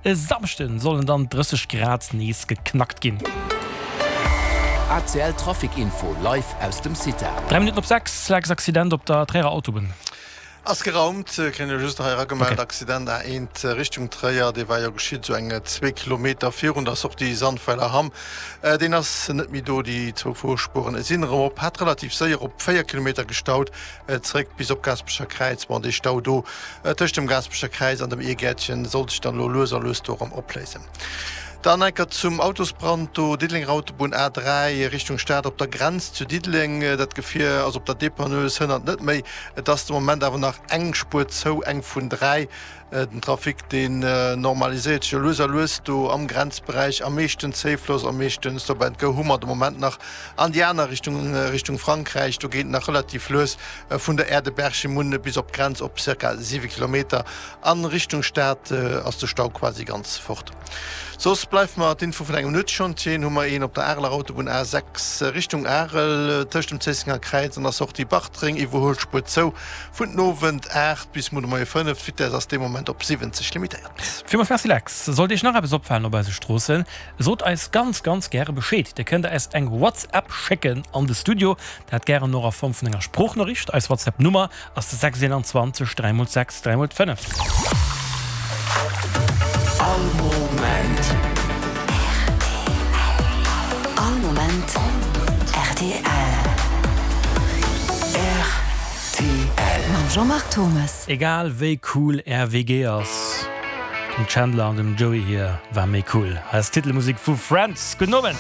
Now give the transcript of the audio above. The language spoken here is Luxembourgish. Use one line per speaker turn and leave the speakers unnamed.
E Samschden sollen dann 30 Grad nees geknackt ginn.
ACL Trafic Info live aus dem CITA.
3 Minutten op 6, Lex Accident op der Tréierer Autobunn.
Ass geraumt, kréien elo just nach hei eragemellt, Accident A1 Richtung Tréier, dee war jo geschitt esou eng zwee Kilometer virun der Sortie Sandweiler Hamm. Deen ass net méi do, déi zwou Fuerspueren sinn erëm op, hat relativ séier op 4 Kilometer gestaut. Zréck bis op Gaasperecher Kräiz. Bon, dee Stau do tëscht dem Gaasperecher Kräiz an dem Irgäertchen sollt sech dann elo lues a lues do erëm opléisen. Dann enker zum Autosbrand do, Diddelenger Autobunn A3 Richtung Stad op der Grenz zu Diddeleng. Dat Gefier ass op der Dépanneuse, hënnert net méi. Et ass de Moment awer nach eng Spuer zou, eng vun 3. Den Trafic deen normaliséiert sech jo lues a lues do am Grenzberäich. Am meeschten Zéifloss, am meeschten Stop and Go hu mer de Moment nach an déi aner Richtung, Richtung Frankräich. Do geet et nach relativ lues vun der Aire de Berchemune bis op d'Grenz op ca. 7 Kilometer. An Richtung Stad ass de Stau quasi ganz fort. Soss bleift mer d'Info vun engem Nuetschantier. Hu mer een op der Areler Autobunn A6 Richtung Arel tëscht dem Zéissenger Kräiz an der Sortie Bartreng, Iwwerhuelspuer zou. Vun den Owend 8 bis muer de Moie 5. D'Vitess ass dee Moment op 70 limitéiert.
Villmools Merci Lex. Sollt Iech nach eppes opfalen op eise Stroossen, sot eis ganz ganz gäre Bescheed. Dir kënnt eis eng WhatsApp schécken an de Studio, dat gären och a Form vun enger Sproochnoriicht. Eis WhatsApp Nummer ass de 6 21 3 x 6 3 x 5.
All Moment.
All Moment rtl.
Rtl.
Mam Jean-Marc Thomes.
Egal wéi cool är WG ass, dem Chandler an dem Joey hir war méi cool. Hei ass d'Titelmusek vu Friends. Gudden Owend.